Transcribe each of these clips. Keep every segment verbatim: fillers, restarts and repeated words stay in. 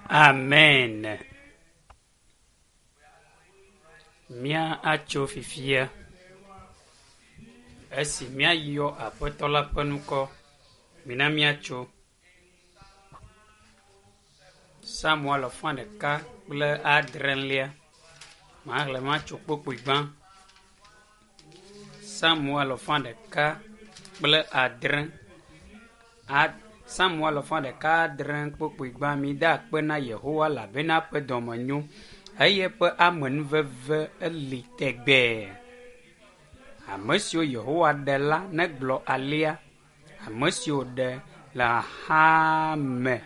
Amen. Mía atso fifia. Esi míayɔ Aƒetɔ la ƒe ŋkɔ, mina míatso. Samuel afã ɖeka kple adrelia. Maxlẽ matso kpukpui gbã. Samuel afã ɖeka kple adre. A Samuel afã ɖeka adre kpukpui gbã. Mida akpe na Yehowa elabena eƒe dɔme nyo eye eƒe amenuveve eli tegbee. Ame siwo Yehowa ɖe la negblɔ alea. Ame siwo ɖe le xaxa me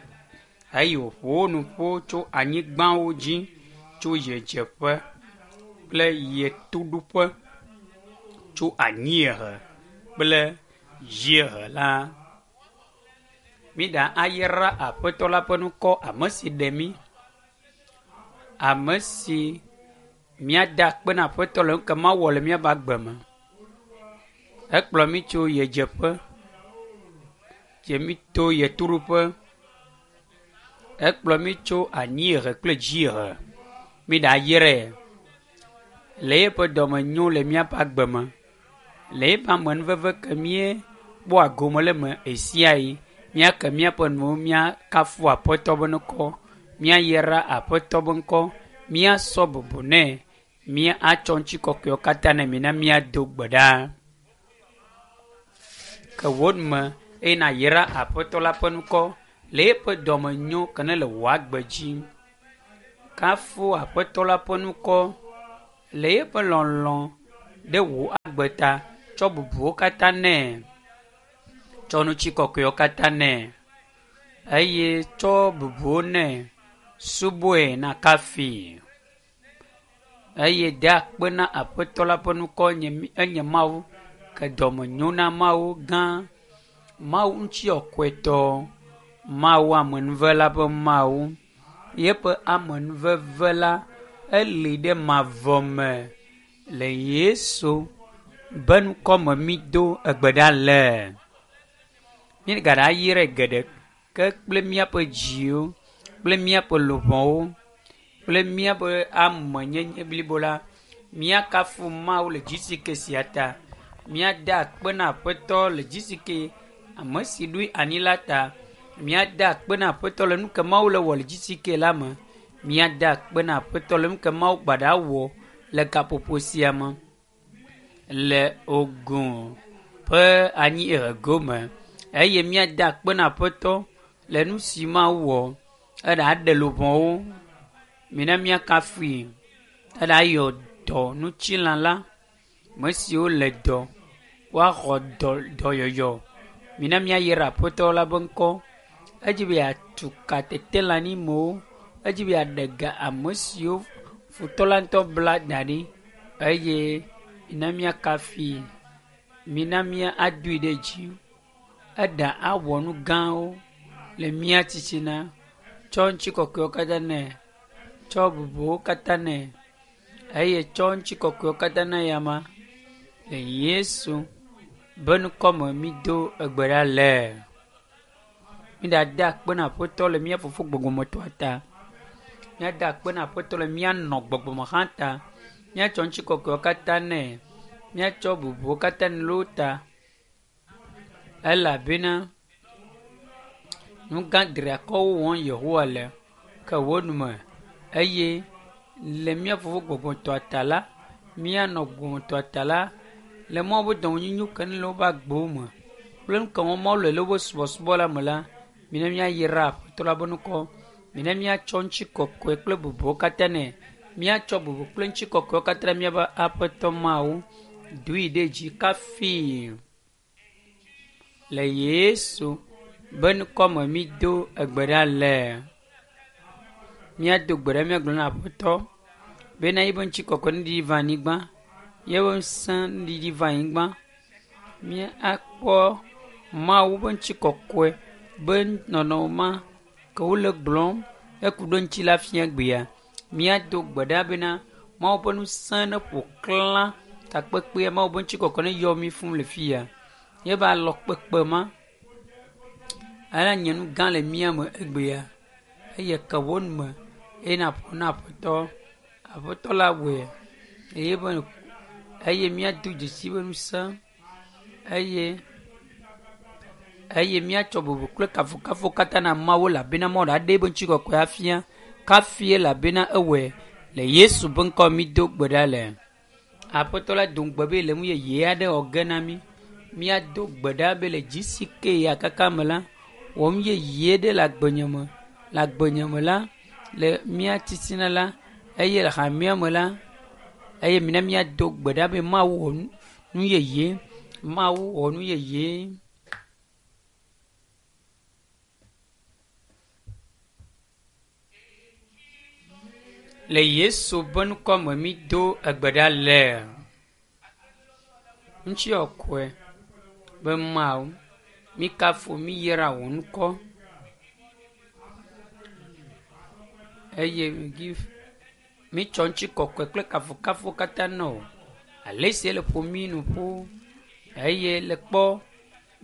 eye wòƒo wo nu ƒu tso anyigbawo dzi tso ɣedzeƒe kple ɣetoɖoƒe, tso anyiehe kple dziehe la. Míɖa ayra Aƒetɔ la ƒe ŋkɔ, ame si ɖe mí, ame si míada akpe na Aƒetɔ le nu ke Mawu wɔ le míaƒe agbe me. Ekplɔ mí tso ɣedzeƒe, dze mí to ɣetoɖoƒe. Ekplɔ mí tso anyiehe kple dziehe. Míɖa ayrae le eƒe dɔmenyo le míaƒe agbe me, le eƒe amenuveve ke míekpɔa gome le eme ɣe sia ɣi. Míake míaƒe nuwo míakafu Aƒetɔ ƒe ŋkɔ, míayra Aƒetɔ ƒe ŋkɔ, míasɔ bubu nɛ, míatsɔ ŋutikɔkɔewo katã nɛ. Mina míado gbe ɖa. Ke wò me eye nàyra Aƒetɔ la ƒe ŋkɔ le eƒe dɔmenyo ke ne le wò agbe dzi. Kafu Aƒetɔ la ƒe ŋkɔ le eƒe lɔlɔ̃ ɖe wò agbe ta. Tsɔ bubuwo katã nɛ. Tsɔ ŋutikɔkɔewo katã nɛ eye tsɔ bubuwo nɛ. Subɔe nàkafui eye de akpe na Aƒetɔ la ƒe ŋkɔ nye enye Mawu ke dɔmenyo na Mawu gã, Mawu ŋutikɔkɔetɔ, Mawu amenuvela ƒe Mawu. Yeƒe amenuveve la eli ɖe mavɔ me le Yesu be ŋkɔ me mído egbe ɖa le. Míegaɖa ayrae geɖe ke kple míaƒe dziwo kple míaƒe luʋɔwo kple míaƒe amenyenye blibo la. Míakafu Mawu le dzisike sia ta. Míada akpe na Aƒetɔ le dzisike ame si ɖoe anyi la ta. Míada akpe na Aƒetɔ le nu ke Mawu le wɔ le dzisike la me. Míada akpe na Aƒetɔ le nu ke Mawu gbaɖa wɔ le gaƒoƒo sia me le Ogun ƒe anyiehe gome eye míada akpe na Aƒetɔ le nu si Mawu wɔ. Eɖa ɖe luʋɔwo. Mina míakafui. Eɖa yɔ dɔ ŋutilã la. Ame siwo le dɔ woaxɔ dɔ dɔyɔyɔ. Mina míayra Aƒetɔ la ƒe ŋkɔ. Edzi be yeatu ka tetelãnyimewo. Edzi be yeaɖe ga ame siwo futɔ la ŋutɔ bla da ɖi eye mina míakafui. Mina míadoe ɖe dzi. Eɖa awɔ nu gãwo le mía titina. Tsɔ ŋutikɔkɔewo katã nɛ. Tsɔ bubuwo katã nɛ eye tsɔ ŋutikɔkɔewo katã na eyama le Yesu be ŋkɔ me mído egbe ɖa le. Míɖada akpe na Aƒetɔ le mía fofo gbɔgbɔmetɔa ta. Míada akpe na Aƒetɔ le mía nɔ gbɔgbɔme hã ta. Míatsɔ ŋutikɔkɔewo katã nɛ. Míatsɔ bubuwo katã nɛ le wo ta elabena nu gã triakɔwo wɔm Yehowa le ke wo nume eye le mía fofo gbɔgbɔtɔa ta la, míanɔ gbɔgbɔtɔa ta la, le Mawu ƒe dɔmenyonyo ke ne le woƒe agbewo me kple nu ke wɔm Mawu le le woƒe subɔsubɔ la me la, mina míayra Aƒetɔ la ƒe ŋkɔ. Mina míatsɔ ŋutikɔkɔe kple bubuwo katã nɛ. Míatsɔ bubu kple ŋutikɔkɔewo katã na míaƒe Aƒetɔ Mawu. Doe ɖe dzi kafui le Yesu be ŋkɔ me mído egbe ɖa le. Míado gbe ɖa míagblɔ na Aƒetɔ bena yeƒe ŋutikɔkɔe nuɖiɖi va anyigba, yeƒe ŋusẽ nuɖiɖi va anyigba. Míakpɔ Mawu ƒe ŋutikɔkɔe be nɔnɔme ma ke wole gblɔm eku ɖe ŋuti la fia gbea. Míado gbe ɖa bena Mawu ƒe ŋusẽ neƒo xlã takpekpea, Mawu ƒe ŋutikɔkɔe neyɔ mí fũu le fia. Yeƒe alɔkpekpe ma ela nye nu gã le mía me egbea Eye ke wò nu me eye nàƒo na Aƒetɔ. Aƒetɔ la wɔe eye be eye míado dzesi be ŋusẽ eye eye míatsɔ bubu kple kafukafu katã na Mawu elabena Mawu ɖe eƒe ŋutikɔkɔe afia. Kafi elabena ewɔe le Yesu ƒe ŋkɔ mído gbe ɖa le. Aƒetɔ la do ŋugbe be le nu yeye aɖe wɔ ge na mí. Míado gbe ɖa be le dzi si ke ya kaka me la, wɔ nu yeye ɖe le agbenye me. Le agbenye me la, le mía titina la, eye le hamea me la, eye mina míado gbe ɖa be Mawu wɔ nu yeye. Mawu wɔ nu yeye. Le Yesu ƒe ŋkɔ me mído egbe ɖa le. Ŋutikɔkɔe be Mawu, míkafu míyra wò ŋkɔ. Eye mítsɔ ŋutikɔkɔe kple kafukafu katã na wò. Ale si ele ƒo mí nu ƒu eye le kpɔ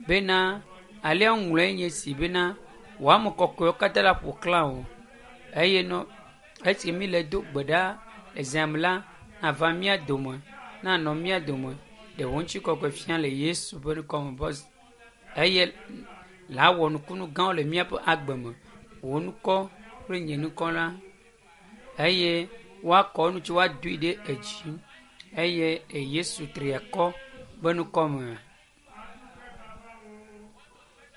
bena alea ŋlɔe nye si bena wò ame kɔkɔewo katã la ƒo xlã wò. Eye nɔ esi mi le do gbe ɖa le zã me la, nava mía dome, nanɔ mía dome. Ɖe wò ŋutikɔkɔe fia le Yesu ƒe ŋkɔ me be eye la wɔ nukunu gãwo le míaƒe agbe me. Wò ŋkɔ kple nye ŋkɔ la eye woakɔ nu tsi woadoe ɖe edzi eye Yesu triakɔ ƒe ŋkɔ me.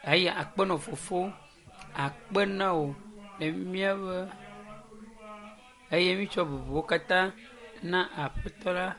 Eye akpe na fofo, akpe na wò le míaƒe eye mítsɔ bubuwo katã na Aƒetɔ la.